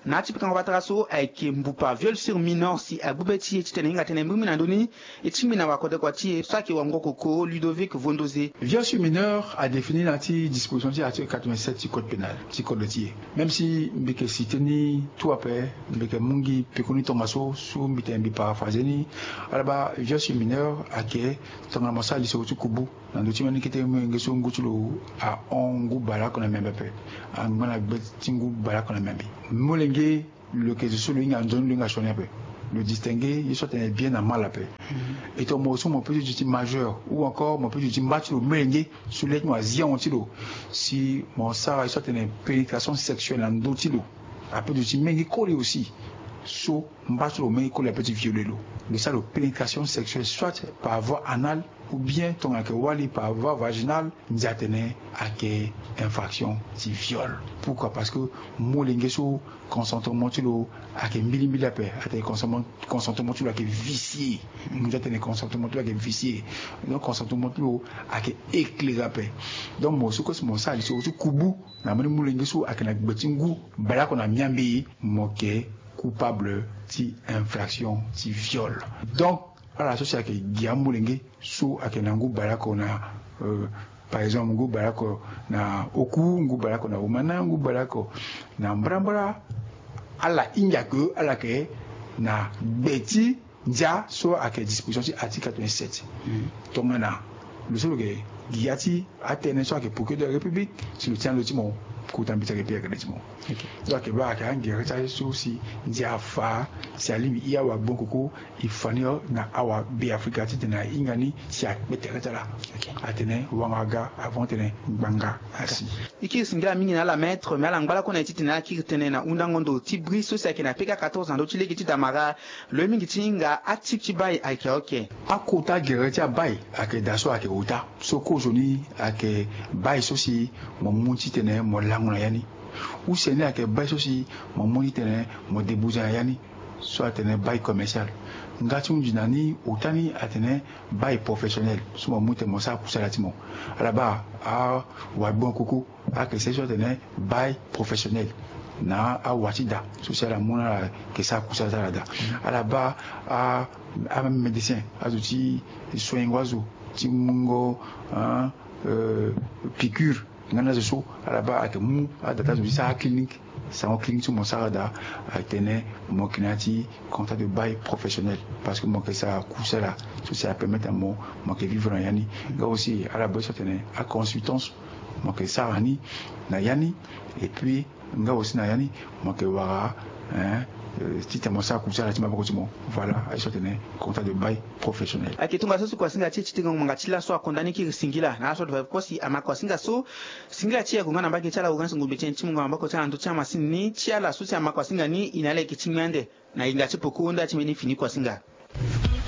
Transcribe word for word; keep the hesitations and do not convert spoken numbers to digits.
Na ya ti pikango patara so ayeke mbupa viol sur mineur si agbu be ti e titene hinga tënë mbirimbiri na ndö ni. E tingbi na wakodekua ti e so ayeke wangokoko Ludovic Vondoze. Viol sur mineur adéfini na ya ti disposition ti article quatre-vingt-sept ti code pénal ti code ti e. Même si mbi yeke cité ni tout ape, mbi yeke mu gi pekoni tongaso so mbi tene mbi paraphraser ni. Ala baa, viol sur mineur ayeke tongana mo sara lisoro ti kubu na ndö ti mbeni kete molenge so ngu ti lo ahon ngu baleoko na miambe ape, angba na gbe ti ngu baleoko na miambe. Molenge lo yeke zo so lo hinga nzoni, lo hinga sioni ape. Lo distinguer ye so atene bien na mal ape. E tongana mo so mo peut ti duti majeur ou encore mo peut ti duti mba ti lo molenge so le ti mo azia ahon ti lo, si mo sara ye so atene pénétration sexuelle na ndö ti lo, ape duti mingi koli aussi so mba ti lo mingi koli ape ti violer lo. Lo sara lo pénétration sexuelle soit par voie anale ou bien tongana ayeke wali par voie vaginale, ndia atene ayeke infraction ti viol. Pourquoi? Parce que molenge so consentement ti lo ayeke mbilimbili ape, atene consentement ti lo ayeke vicié. Ndia atene consentement ti lo ayeke vicié. Donc consentement ti lo ayeke éclairé ape. Donc mo so kue si mo sara lisoro ti kubu na mbeni molenge so ayeke na gbe ti ngu baleoko na miambe, mo yeke coupable ti infraction ti viol. Donc ala so si ayeke gi amolenge so ayeke na ngu baleoko na, euh, par exemple ngu baleoko na oku, ngu baleoko na omana, ngu baleoko na mbrambra, ala hinga ke ala yeke na gbe ti ndia so ayeke disposition ti article quatre-vingt-sept. Tongana lo so lo yeke gi ya ti atënë so ayeke procureur de la République, si lo ti na lo ti mo, kota mbi ti ayeke pe ayeke le ti mo. Donc ayeke baa ayeke angere ti aye so si ndia afa, si alingbi hia awagbon koko, e fa ni na awabeafrika titene ahinga ni si akpe tere ti ala. Atene wanga aga avant tene ngbanga asi. E kiri singila mingi na ala maître, me ala ngba lakue na e titene ala kiri tënë na hundango ndo ti bri so si ayeke na P K quatorze na ndö ti lege ti damara. Lo ye mingi ti hinga atype ti bai ayeke oke. Akota gere ti abai ayeke daa so ayeke ota. So kozoni ayeke bai so si mo mu titene mo lango na ya ni. Use ni ayeke bai so si mo mu titene mo débouze na ya ni. So atene bai commercial. Nga ti hunzi na ni ota ni atene bai professionnel. So mo mu titene mo sara kusala ti mo. Ala baa awagbon koko ayeke sese so atene bai professionnel. Na awa ti da so si ala mu na ala yeke sara kusala ti ala daa. Ala baa a amédecin, azo ti soignengo azo, ti mungo, hein, euh, piqûre. Nga na azo so ala baa ayeke mu ada ti azo ti sara clinique. Sango clinique so mo sara daa, atene mo yeke na ya ti contrat de bail professionnel. Parce que mo yeke sara kusala so si apermettre na mo, mo yeke vivre na ya ni. Nga aussi ala baa so atene aconsultance, mo yeke sara ni na ya ni. Et puis nga aussi na ya ni mo yeke wara, hein, euh, titene mo sara kusala ti maboko ti mo. Voilà aye so atene contrat de bail professionnel. Ayeke tongaso si kuasinga ti e ti tengo ngbanga ti laso akonda ni kiri singila na ala so ade fa kosi amakuasinga so. Singila ti e ague nga na mbage ti ala ague nga si ngombe ti e ni ti mungo na maboko ti ala na ndö ti amasini ni ti ala so si amakuasinga ni e na ala yeke ti ngbia ande. Na hinga ti poko nda ti mbeni fini kuasinga.